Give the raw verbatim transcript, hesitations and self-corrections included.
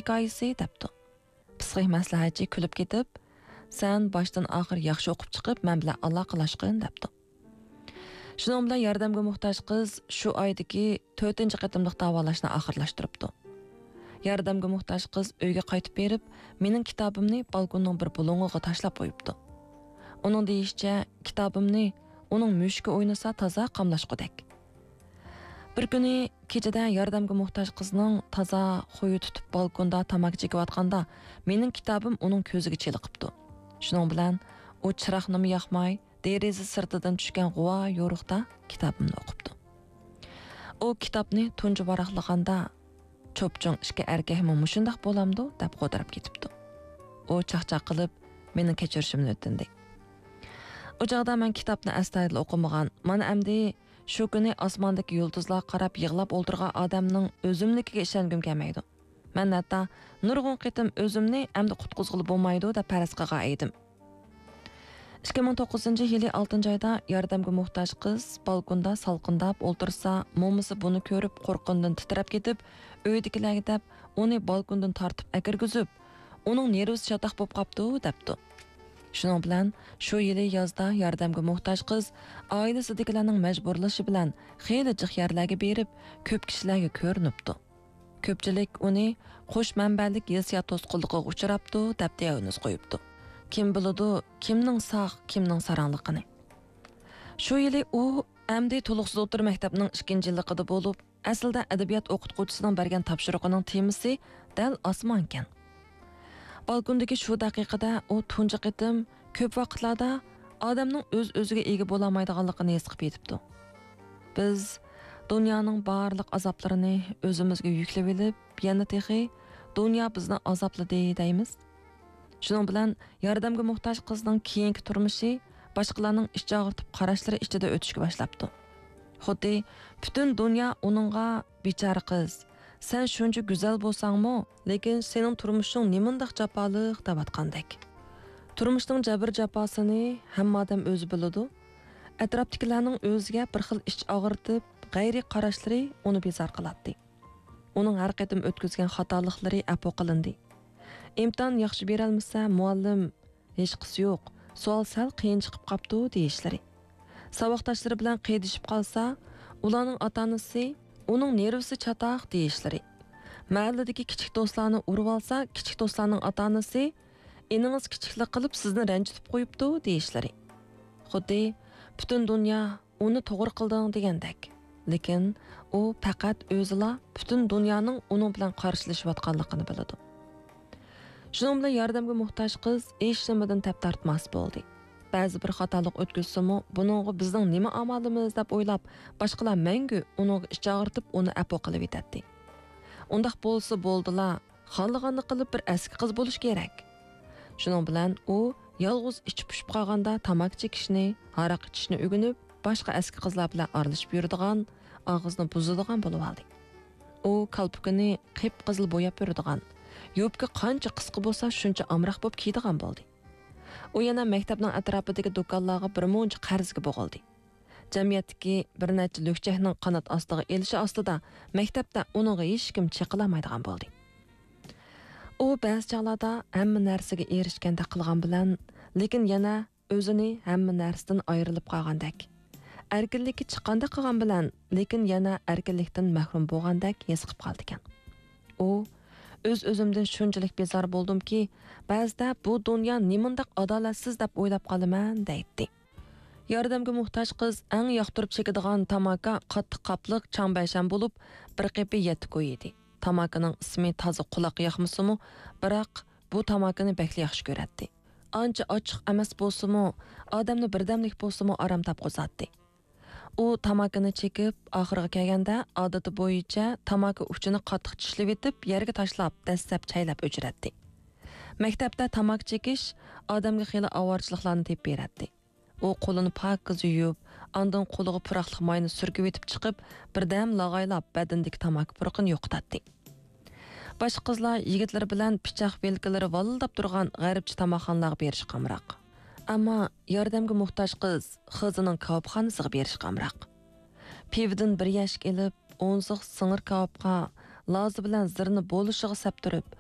ھېكايىسى» دەپتۇ. پسىخىك مەسلىھەتچى كۈلۈپ كېتىپ، «سەن باشتىن ئاخىر ياخشى ئوقۇپ چىقىپ، مەن بىلەن ئالاقىلاشقىن» دەپتۇ. شۇنىڭ بىلەن ياردەمگە موھتاج قىز شۇ ئايدىكى تۆتىنچى قېتىملىق داۋالاشنى ئاخىرلاشتۇرۇپتۇ. ياردەمگە موھتاج قىز ئۆيگە قايتىپ بېرىپ، مېنىڭ كىتابىمنى بالكوننىڭ بىر بۇلۇڭىغا تاشلاپ قويۇپتۇ. ئۇنىڭ دېيىشىچە، كىتابىمنى ئۇنىڭ مۈشۈكى ئوينىسا تازا قاملاشقۇدەك. بىر كۈنى كېچىدە ياردەمگە موھتاج قىزنىڭ تازا خۇيى تۇتۇپ بالكوندا تاماكا چېكىۋاتقاندا، مېنىڭ كىتابىم ئۇنىڭ كۆزىگە چېلىقىپتۇ. شۇنىڭ بىلەن ئۇ چىراغنىمۇ ياقماي، دېرىزە سىرتىدىن چۈشكەن غۇۋا يورۇقتا كىتابىمنى ئوقۇپتۇ. ئۇ كىتابنى تۇنجى ۋاراقلىغاندا، «چوپچوڭ ئىككى ئەركەكمۇ مۇشۇنداق بولامدۇ؟» دەپ غودىراپ كېتىپتۇ. ئۇ چاقچاق قىلىپ، مېنىڭ كەچۈرۈشۈمنى ئۆتۈندى. ئۇ چاغدا مەن كىتابنى ئەستايىدىل ئوقۇمىغان. مانا ئەمدى شۇ كۈنى ئاسماندىكى يۇلتۇزلارغا قاراپ يىغلاپ ئولتۇرغان ئادەمنىڭ ئۆزۈمنىڭكىگە ئىشەنگۈم كەلمەيدۇ. مەن ھەتتا نۇرغۇن قېتىم ئۆزۈمنى ئەمدى قۇتقۇزغىلى بولمايدۇ دەپ پەرەز قىلغان ئىدىم. ئىككى مىڭ توققۇزىنچى يىلى ئالتىنچى ئايدا ياردەمگە موھتاج قىز بالكوندا سالقىنداپ ئولتۇرسا، مومىسى بۇنى كۆرۈپ قورققىنىدىن تىترەپ كېتىپ، ئۆيدىكىلەرگە دەپ ئۇنى بالكوندىن تارتىپ ئەكىرگۈزۈپ، «ئۇنىڭ نېرۋىسى چاتاق بوپ قاپتۇ» دەپتۇ. شۇنىڭ بىلەن شۇ يىلى يازدا ياردەمگە موھتاج قىز ئائىلىسىدىكىلەرنىڭ مەجبۇرلىشى بىلەن خېلى جىق يەرلەرگە بېرىپ، كۆپ كىشىلەرگە كۆرۈنۈپتۇ. كۆپچىلىك ئۇنى قوش مەنبەلىك ھېسسىيات توسقۇنلۇقىغا ئۇچراپتۇ دەپ دىئاگنوز قويۇپتۇ. كىم بىلىدۇ، كىمنىڭ ساق، كىمنىڭ ساراڭلىقىنى؟ شۇ يىلى ئۇ ئەمدى تولۇقسىز ئوتتۇرا مەكتەپنىڭ ئىككىنچى يىللىقىدا بولۇپ، ئەسلىدە ئەدەبىيات ئوقۇتقۇچىسىنىڭ بەرگەن تاپشۇرۇقىنىڭ تېمىسى دەل ئاسمانكەن. بالكوندىكى شۇ دەقىقىدە ئۇ تۇنجى قېتىم كۆپ ۋاقىتلاردا ئادەمنىڭ ئۆز-ئۆزىگە ئىگە بولالمايدىغانلىقىنى ھېس قىلىپ يېتىپتۇ. بىز دۇنيانىڭ بارلىق ئازابلىرىنى ئۆزىمىزگە يۈكلىۋېلىپ، يەنە تېخى «دۇنيا بىزنى ئازابلىدى» دەيمىز. شۇنىڭ بىلەن ياردەمگە موھتاج قىزنىڭ كېيىنكى تۇرمۇشى باشقىلارنىڭ ئىچ ئاغرىتىپ قاراشلىرى ئىچىدە ئۆتۈشكە باشلاپتۇ. خۇددى پۈتۈن دۇنيا ئۇنىڭغا «بىچارە قىز، سەن شۇنچە گۈزەل بولساڭمۇ، لېكىن سېنىڭ تۇرمۇشۇڭ نېمانداق جاپالىق» دەۋاتقاندەك. تۇرمۇشنىڭ جەبىر-جاپاسىنى ھەممە ئادەم ئۆزى بىلىدۇ. ئەتراپتىكىلەرنىڭ ئۆزىگە بىر خىل ئىچ ئاغرىتىپ، غەيرىي قاراشلىرى ئۇنى بىزار قىلاتتى. ئۇنىڭ ھەر قېتىم ئۆتكۈزگەن خاتالىقلىرى ئەپۇ قىلىندى. ئىمتىھان ياخشى بېرەلمىسە، مۇئەللىم، «ھېچقىسى يوق، سوئال سەل قىيىن چىقىپ قاپتۇ» دېيىشلىرى. ساۋاقداشلىرى بىلەن قىيدىشىپ قالسا، ئۇلارنىڭ ئاتا-ئانىسى، «ئۇنىڭ نېرۋىسى چاتاق» دېيىشلىرى. مەھەللىدىكى كىچىك دوستلارنى ئۇرۇۋالسا، كىچىك دوستلارنىڭ ئاتا-ئانىسى، «ئىنىڭىز كىچىكلىك قىلىپ سىزنى رەنجىتىپ قويۇپتۇ» دېيىشلىرى. خۇددى پۈتۈن دۇنيا «ئۇنى توغرا قىلدىڭ» دېگەندەك. لېكىن ئۇ پەقەت ئۆزىلا پۈتۈن دۇنيانىڭ ئۇنىڭ بىلەن قارشىلىشىۋاتقانلىقىنى بىلىدۇ. شۇنىڭ بىلەن ياردەمگە موھتاج قىز ھېچنېمىدىن تەپ تارتماس بولدى. بەزى بىر خاتالىق ئۆتكۈزسىمۇ، «بۇنىڭغا بىزنىڭ نېمە ئامالىمىز؟» دەپ ئويلاپ، باشقىلار مەڭگۈ ئۇنىڭغا ئىچ ئاغرىتىپ، ئۇنى ئەپۇ قىلىۋېتەتتى. ئۇنداق بولسا بولدىلا، خالىغاننى قىلىپ بىر ئەسكى قىز بولۇش كېرەك. شۇنىڭ بىلەن ئۇ يالغۇز ئىچى پۇشۇپ قالغاندا تاماكا چېكىشنى، ھاراق ئىچىشنى ئۆگىنىپ، باشقا ئەسكى قىزلار بىلەن ئارىلىشىپ يۈرىدىغان، ئاغزىنى بۇزىدىغان بولۇۋالدى. ئۇ كالپۇكىنى قىپقىزىل بوياپ يۈرىدىغان، يوپكا قانچە قىسقا بولسا، شۇنچە ئامراق بولۇپ كىيىدىغان بولدى. ئۇ يەنە مەكتەپنىڭ ئەتراپىدىكى دۇكانلارغا بىر مۇنچە قەرزگە بوغۇلدى. جەمئىيەتتىكى بىر نەچچە لۈكچەكنىڭ قانات ئاستىغا ئېلىشى ئاستىدا مەكتەپتە ئۇنىڭغا ھېچكىم چېقىلالمايدىغان بولدى. ئۇ بەزى چاغلاردا ھەممە نەرسىگە ئېرىشكەندەك قىلغان بىلەن، لېكىن يەنە ئۆزىنى ھەممە نەرسىدىن ئايرىلىپ قالغاندەك، ئەركىنلىككە چىققاندەك قىلغان بىلەن، لېكىن يەنە ئەركىنلىكتىن مەھرۇم بولغاندەك ھېس قىلىپ قالىدىكەن. ئۇ، «ئۆز-ئۆزۈمدىن شۇنچىلىك بىزار بولدۇمكى، بەزىدە بۇ دۇنيا نېمانداق ئادالەتسىز دەپ ئويلاپ قالىمەن» دەيتتى. ياردەمگە موھتاج قىز ئەڭ ياقتۇرۇپ چېكىدىغان تاماكا قاتتىق قاپلىق چاڭبەشەن بولۇپ، بىر قېپى يەتتە كوي ئىدى. تاماكىنىڭ ئىسمى تازا قۇلاققا ياقمىسىمۇ، بىراق بۇ تاماكىنى بەكلا ياخشى كۆرەتتى. ئانچە ئاچچىق ئەمەس بولسىمۇ، ئادەمنى بىردەملىك بولسىمۇ ئارام تاپقۇزاتتى. ئۇ تاماكىنى چېكىپ، ئاخىرىغا كەلگەندە، ئادىتى بويىچە تاماكا ئۇچىنى قاتتىق چىشلىۋېتىپ، يەرگە تاشلاپ، دەسسەپ چەيلەپ ئۆچۈرەتتى. مەكتەپتە تاماكا چېكىش ئادەمگە خېلى ئاۋارىچىلىقلارنى تېپىپ بېرەتتى. ئۇ قولىنى پاكىز يۇيۇپ، ئاندىن قولىغا پۇراقلىق ماينى سۈركىۋېتىپ چىقىپ، بىردەم لاغايلاپ، بەدىنىدىكى تاماكا پۇرىقىنى يوقىتاتتى. باشقا قىزلار يىگىتلىرى بىلەن پىچاق ۋىلكىلىرى ۋالىلداپ تۇرغان غەربچە تاماقخانىلارغا بېرىشكە ئامراق. ئەمما ياردەمگە موھتاج قىز خىزىنىڭ كاۋاپخانىسىغا بېرىشكە ئامراق. پىۋىدىن بىر يەشىك ئېلىپ، ئونسۇق سىڭىر كاۋاپقا لازا بىلەن زىرنى بولۇشىغا سەپتۈرۈپ،